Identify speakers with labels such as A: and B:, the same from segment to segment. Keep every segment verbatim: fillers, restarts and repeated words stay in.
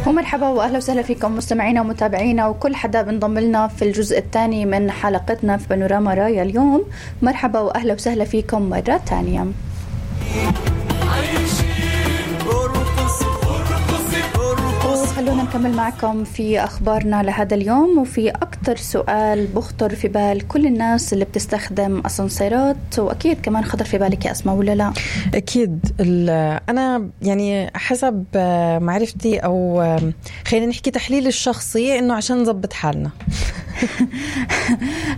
A: ومرحبا واهلا وسهلا فيكم مستمعينا ومتابعينا وكل حدا بنضم لنا في الجزء الثاني من حلقتنا في بانوراما رايا اليوم. مرحبا واهلا وسهلا فيكم مرة ثانية. خلونا نكمل معكم في أخبارنا لهذا اليوم. وفي أكتر سؤال بخطر في بال كل الناس اللي بتستخدم أسانسيرات، وأكيد كمان خطر في بالك يا أسماء ولا لا؟
B: أكيد. أنا يعني حسب معرفتي أو خلينا نحكي تحليل الشخصي إنه عشان نضبط حالنا.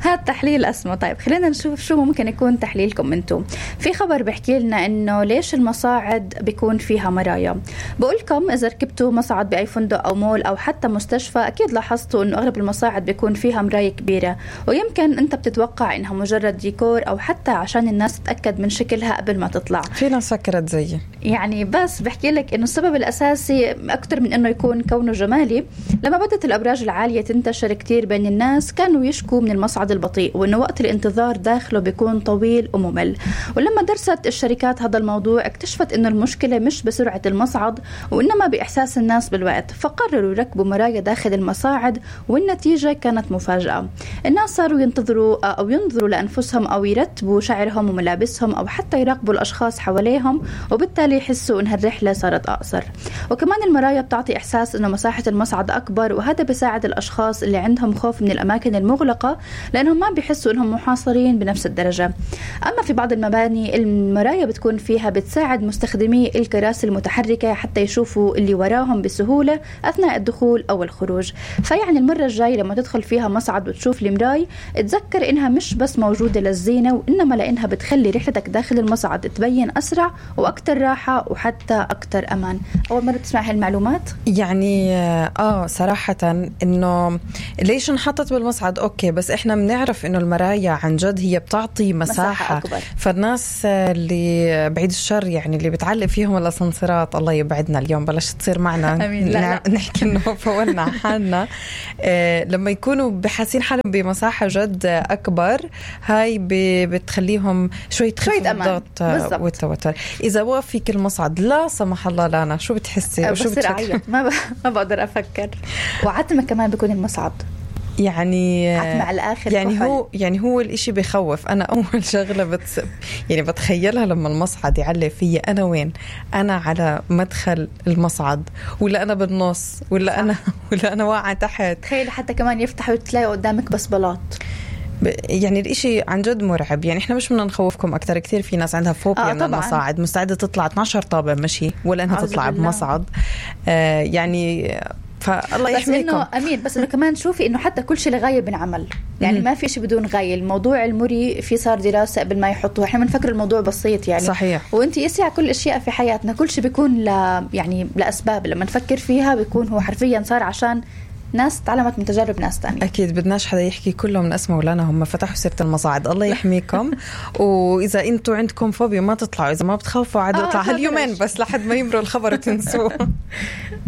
A: هذا تحليل أسماء. طيب خلينا نشوف شو ممكن يكون تحليلكم انتم. في خبر بيحكي لنا إنه ليش المصاعد بيكون فيها مرايا. بقولكم إذا ركبتوا مصعد بأي فندق أو مول أو حتى مستشفى أكيد لاحظتوا إنه أغلب المصاعد بيكون فيها مراية كبيرة، ويمكن أنت بتتوقع إنها مجرد ديكور أو حتى عشان الناس تتأكد من شكلها قبل ما تطلع.
B: في ناس فكرت زيي
A: يعني، بس بحكي لك إنه السبب الأساسي أكتر من إنه يكون كونه جمالي. لما بدت الأبراج العالية تنتشر كتير بين الناس كانوا يشكوا من المصعد البطيء وإنه وقت الانتظار داخله بيكون طويل وممل. ولما درست الشركات هذا الموضوع اكتشفت إنه المشكلة مش بسرعة المصعد وإنما بإحساس الناس بالوقت، فقرروا يركبوا مرايا داخل المصاعد والنتيجة كانت مفاجأة. الناس صاروا ينتظروا أو ينظروا لأنفسهم أو يرتبوا شعرهم وملابسهم أو حتى يراقبوا الأشخاص حواليهم، وبالتالي يحسوا إن الرحلة صارت أقصر. وكمان المرايا بتعطي إحساس إنه مساحة المصعد أكبر، وهذا بيساعد الأشخاص اللي عندهم خوف من الأماكن المغلقة لأنهم ما بيحسوا إنهم محاصرين بنفس الدرجة. أما في بعض المباني المرايا بتكون فيها بتساعد مستخدمي الكراسي المتحركة حتى يشوفوا اللي وراهم بسهولة أثناء الدخول أو الخروج. فيعني المرة الجاية لما تدخل فيها مصعد وتشوف المراية اتذكر إنها مش بس موجودة للزينة، وإنما لأنها بتخلي رحلتك داخل المصعد تبين أسرع وأكتر راحة وحتى أكتر أمان. أول مرة تسمع هالمعلومات؟
B: يعني آه صراحة إنه ليش انحطت بالمصعد أوكي، بس إحنا بنعرف إنه المرايا عن جد هي بتعطي مساحة, مساحة أكبر. فالناس اللي بعيد الشر يعني اللي بتعلق فيهم الأسانسيرات الله يبعدنا اليوم بلاش تصير معنا لا لا. نحكي إنه فولنا حالنا آه لما يكونوا بحاسين حالهم بمساحة جد أكبر هاي بتخليهم شوي تخفف الضغط والتوتر. إذا وقفك المصعد لا سمح الله لنا شو بتحسي؟
A: شو بتفكر؟ ما ب... ما بقدر أفكر. وعتمة كمان بيكون المصعد
B: يعني
A: على الآخر
B: يعني كحل. هو يعني هو الإشي بيخوف. أنا أول شغلة بتس يعني بتخيلها لما المصعد يعلق فيا أنا وين؟ أنا على مدخل المصعد ولا أنا بالنص ولا صح. أنا ولا أنا واقعة تحت.
A: تخيل حتى كمان يفتحوا وتلاقي قدامك بس بلاط.
B: يعني الاشي عن جد مرعب. يعني احنا مش بدنا نخوفكم اكتر. كتير في ناس عندها فوبيا
A: آه
B: من المصاعد، مستعدة تطلع اثنا عشر طابة مشي ولا انها تطلع بمصعد. آه يعني فالله يحميكم.
A: بس إنه أمين بس إنه كمان شوفي إنه حتى كل شيء لغاية بنعمل. يعني ما في شيء بدون غاية. الموضوع المري في صار دراسة قبل ما يحطوها. إحنا بنفكر الموضوع بسيط يعني
B: صحيح.
A: وأنت يسعى كل أشياء في حياتنا كل شيء بيكون ل يعني لأسباب لما نفكر فيها بيكون هو حرفيا صار عشان ناس تعلمت من تجارب ناس تانية.
B: أكيد بدناش حدا يحكي كله من أسمه ولا أنا هم فتحوا سيرة المصاعد. الله يحميكم. وإذا أنتوا عندكم فوبيا ما تطلعوا. إذا ما بتخافوا عاد اطلع هاليومين بس لحد ما يمروا الخبر وتنسوه.